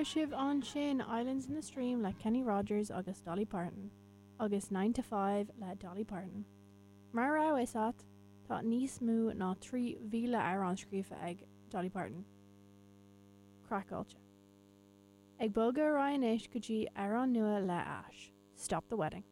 Chuala sibh ansin Islands in the Stream le Kenny Rogers agus Dolly Parton, agus Nine to Five le Dolly Parton. Mara raibh a fhios a't, tá níos mó ná 3,000 amhrán scríofa ag Dolly Parton. Craiceáilte. Ag bogadh ar aghaidh anois go dtí amhrán nua le Ash, Stop the Wedding.